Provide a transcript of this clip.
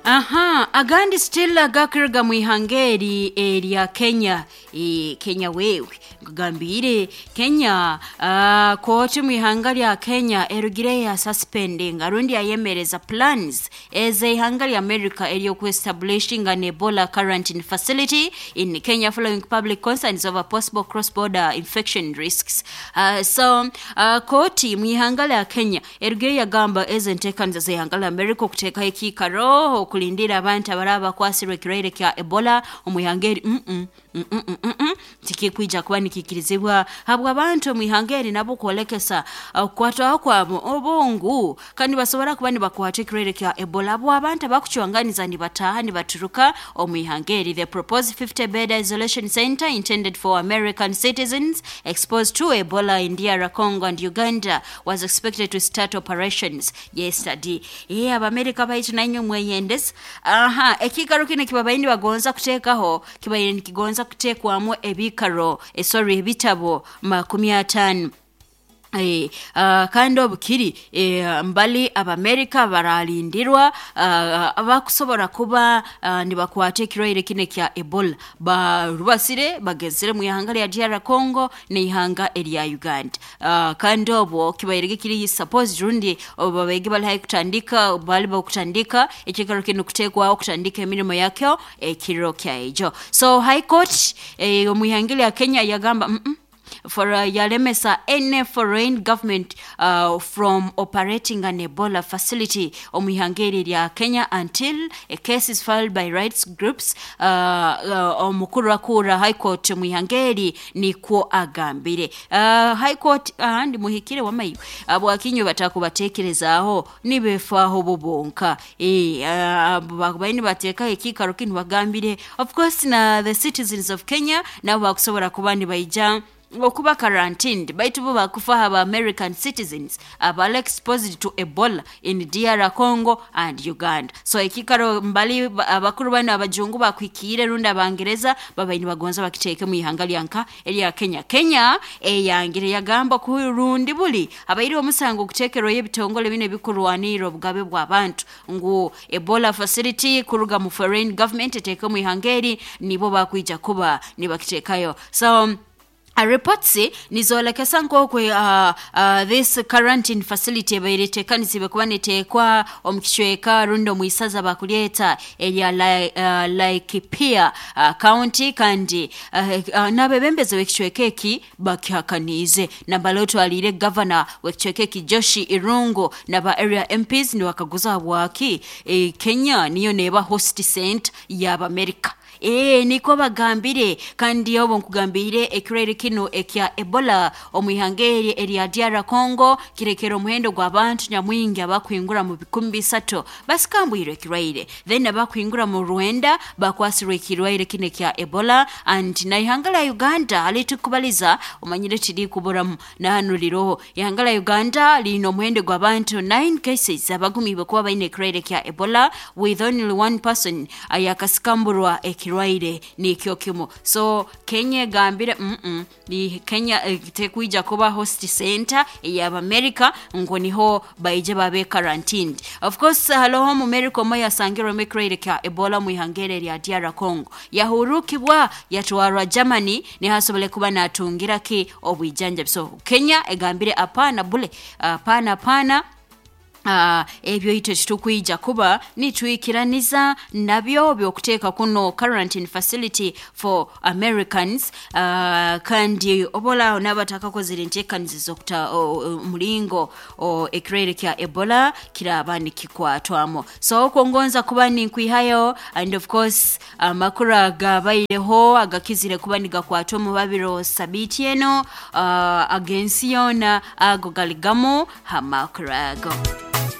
Aha, agandi still agakuruga mu ihanga eri erya Kenya. E, Kenya wewe nkugambire Kenya kooti mu ihanga rya Kenya erugire ya suspending rundi yayemereza plans ez'ihanga rya America ery'okuestablishing an Ebola quarantine facility in Kenya following public concerns over possible cross-border infection risks. So kooti mu ihanga rya Kenya erugire yagamba ezo enteekaniza z'ihanga rya America okuteekaho ekiikaro okulindira abantu abaraba bakwasirwe ekirwaire kya Ebola omu ihanga eri tikikwija kuba nikikirizibwa habwa abantu omu ihanga eri nabo kwolekesa okukwatwaho kwabo obungu kandi basobora kuba nibakwata ekirwaire kya Ebola abo abantu abakucwanganiza nibataaha nibaturuka omu ihanga eri. The proposed 50 bed isolation center intended for American citizens exposed to Ebola in DR Congo and Uganda was expected to start operations yesterday. Abamerika baitu nainywe mweyendeza. Aha, ekiikaro kinu kibabaire nibagonza kuteekaho kibaire nikigonza kuteekwamu ebikaro sorry ebitabo 50. Kandi obukiri mbali Abamerika baralindirwa abakusobora kuba nibakwata ekirwaire kinu ekya Ebola barubasire bagezere mu ihanga lya DR Congo n'ihanga erya Uganda. Kandi obwo kibaire kiri supposed rundi babaige bali haihi kutandika bali bakutandika ekiikaro kinu kuteekwaho kutandika emirimo yakyo ekiro kyaijo. So High Court omu ihanga lya Kenya yagamba for yalemesa any foreign government from operating an Ebola facility omu ihanga eri rya Kenya until a case is filed by rights groups. Omukuru akura High Court omu ihanga eri nikwo agambire. High Court ahandi muhikire wamaiwe abwakinywe batakubatekerezaaho nibefaho bo bonka. Babaire nibateekaho ekiikaro kinu bagambire of course na the citizens of Kenya nabo bakusobora kuba nibaija okuba quarantined, baitu bo bakufaho aba American citizens abali exposed to Ebola in DR Congo and Uganda. So ekiikaro mbali abakuru banu abajungu bakwikiire rundi Abangereza babaire nibagonza bakiteeke mu ihanga lyanka erya Kenya. Kenya eyangire yagamba ku rundi buli abaire omusango okuteekerwayo ebitongole binu ebikurwanirra obugabe bw'abantu ngu Ebola facility kuruga mu foreign government eteeke mu ihanga eri nibo bakwija kuba nibakiteekayo. So reports nizolekesa nk'oku this quarantine facility ebaire eteekanizibwe kuba neteekwa omu kicweka rundi omu isaza bakulyeta erya Laikipia County, kandi n'abebembezi b'ekicweka eki bakihakaniize. Nambala otwaliire gavana w'ekicweka eki Josh Irungu n'aba area MPs nibakaguza habwaki Kenya niyo neeba host center y'Abamerika. Niko bagambire. Kandi obu nkugambire ekirwaire kinu ekya Ebola omu ihanga eri erya DR Congo kirekere omuhendo gw'abantu nyamwingi abakwingura mu 3,000 basikambwirwe ekirwaire, then abakwingura mu 900 bakwasirwe ekirwaire kinu ekya Ebola, and na ihanga lya Uganda halitukubaliza omanyire tirikuburamu nahanu riroho. Ihanga lya Uganda liine omuhendo gw'abantu 9 cases abagumiibwe kuba baine ekirwaire kya Ebola, with only one person ayakasikamburwa ekirwaire nikyo kimu. So Kenya egambire Kenya tekwija kuba host center ey'Abamerika ngu niho baije babe quarantined. Of course haloho Omumerika omwe yasangirwemu ekirwaire kya Ebola mu ihanga eri erya DR Congo, yahurukibwa yatwarwa Germany niho asobole kuba natungira ki obwijanjabi. So Kenya egambire apana bule, apana apana, ebyo itwe titukwija kuba nitwikiraniza nabyo byokuteeka kuno quarantine facility for Americans. Kandi obolaaho n'abatakakozere enteekaniza z'okuta omulingo ekirwaire kya Ebola kiraba nikikwatwamu. So okwongonza kuba ninkwihayo, and of course amakuru agabaireho agakizire kuba nigakwatwa omu babiro sabiiti eno ag'ensi yoona, ago galigamu ha makuru ago.